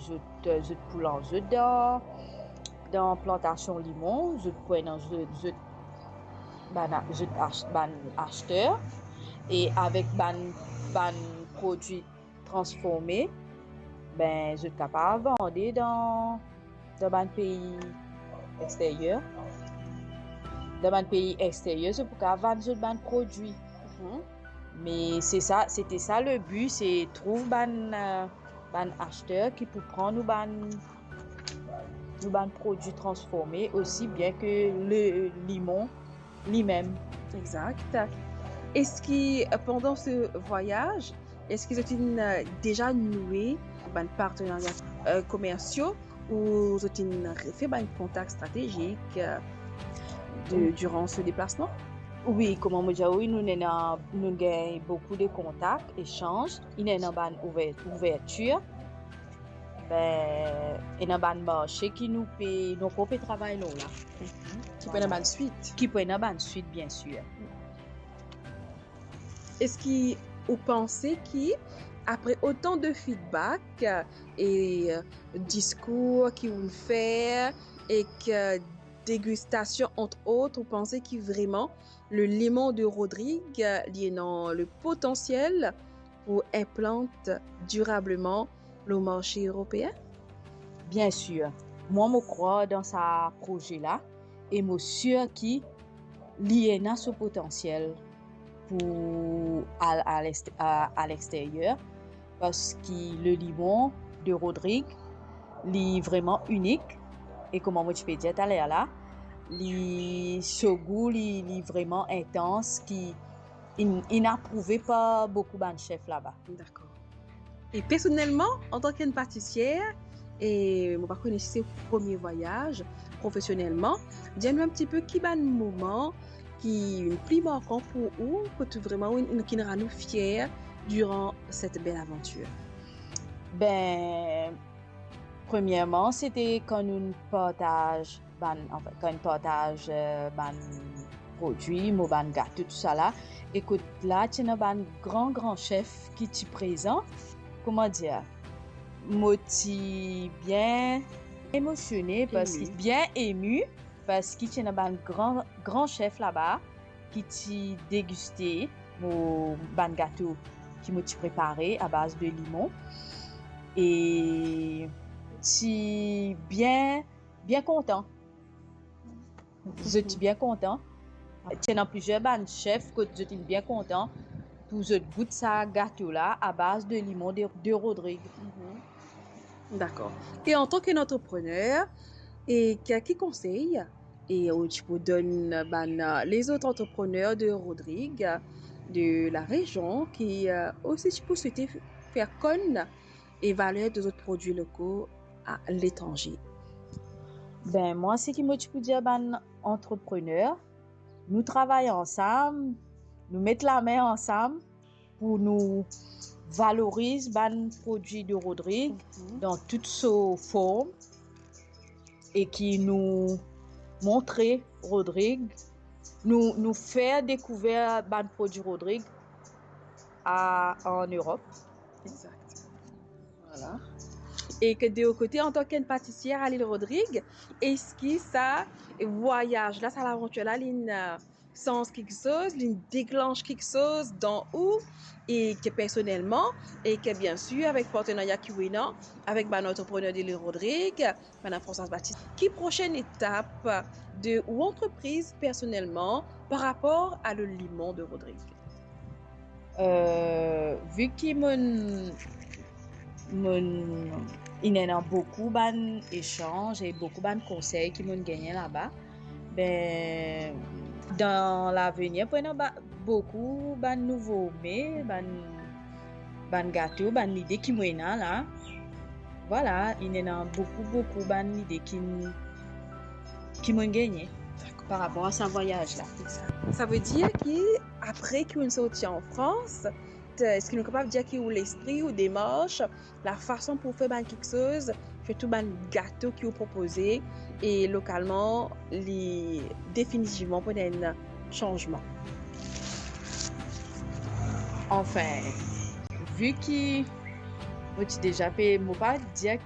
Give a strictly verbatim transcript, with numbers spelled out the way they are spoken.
zot, zot pou lans zot dan, dan plantasion limon, zot pou ena zot, zot, bann, zot ach-, bann aster, e avek bann, bann prodwi transforme, ben, zot kapav vande dan, dan bann pei exteryer. Dan bann pei exteryer, zot pou kapav vann zot bann prodwi. Mhm. Me se sa, se te sa le bi, se trouv bann, eh, bann aster ki pou pran nou bann, nou bann prodwi transforme, osi bien ke le limon limem. Exact. Eski, eh, pandan se vwayaz, eski zot inn, eh, deza noue bann partenaria, eh, komersie, ou zot inn refer bann kontak stratezik, eh, de, diran se deplasman? Wi, kouma mo dir, wi, nou ena, nou gagn boukou de kontak, esanz, inn ena bann ouver-, ouvertir. Ben, ena bann marse ki nou pe, nou ankor pe travay lor la. Mhm. Ki pou ena bann swit. Ki pou ena bann swit, bien sir. Eski ou panse ki, apre otan de feedback, eh, e, eh, diskour ki ou'nn fer, ek, eh, degistasion, ant ot, ou panse ki vreman le limon de Rodrig, eh, li ena le potansiel pou inplant dirableman lor marse eropeen? Bien sir. Mwa, mo krwar dan sa proze la, e mo sir ki li ena so potansiel pou al a lest-, a, a lexteryer, parski le limon de Rodrig, li vreman inik, e kouma mo ti pe dir taler la, li so gou, li, li vreman intans, ki inn, inn aprouve par boukou bann sef laba. Dakor. E personelman, antan ki enn patisier, e mo pa kone si se premie vwayaz profesionelman, dir nou enn tipe ki bann moman ki pli markan pou ou, kot vreman ou, ou, ki rann ou fier diran set bel avantir? Ben, premierman, se te kan nou partaz bann, anfin, kan inn partaz, eh, bann prodwi, mo bann gato, tousala. E kot la, ti ena bann gran, gran sef ki ti prezan. Kouma dir? Mo ti bien emosione, parski, emi, bien emi, parski ti ena bann gran, gran sef laba ki ti degiste mo bann gato ki mo ti prepare a baz de limon. E ti bien, bien kontan. Zot ti bien kontan. Ti ena plizier bann sef kot zot ti bien kontan pou zot gout sa gato la a baz de limon de, de Rodrig. Mhm. Dakor. E antan ki antreprener, e ki, ki konsey e ou ti pou donn bann, eh, lezot antreprener de Rodrig, de larezion, ki, eh, osi ti pou swete fer konn e valer de zot prodwi loko aletranze? Ben, mwa, seki mo ti pou dir bann antreprener, nou travay ansam, nou met lame ansam pou nou valoriz bann prodwi de Rodrig, mhm, dan tout so form, e ki nou montre Rodrig, nou, nou fer dekouver bann prodwi Rodrig a, an Erop. Exact. Vwala. E ki de ou kote, antan ki enn patisier a Lil Rodrig, eski sa vwayaz la, sa lavantir la, linn, eh, sanz kiksoz, linn deklansh kiksoz dan ou, e ki personelman, e ki, bien sir, avek partenaria ki ou ena avek bann antreprener de Lil Rodrig, Madam Françoise Baptiste, ki prosenn etap de ou antrepriz personelman par rapor a le limon de Rodrig? Eh, vi ki mo'nn, mo'nn, inn ena boukou bann esanz e boukou bann konsey ki mo'nn gagne laba, ben, dan lavenir, pou ena ba-, boukou bann nouvo me, bann, bann gato, bann lide ki mo ena la. Vwala, inn ena boukou, boukou bann lide ki, ki mo'nn gagne par rapor a sa vwayaz la. Sa ve dir ki apre ki ou'nn sorti an Frans, eski nou kapav dir ki ou lespri, ou demars, lafason pou fer bann kiksoz, sirtou bann gato ki ou propoze, e lokalman, li definitivman pou ena enn sanzman? Anfin, vi ki mo ti deza pe, mo pa dir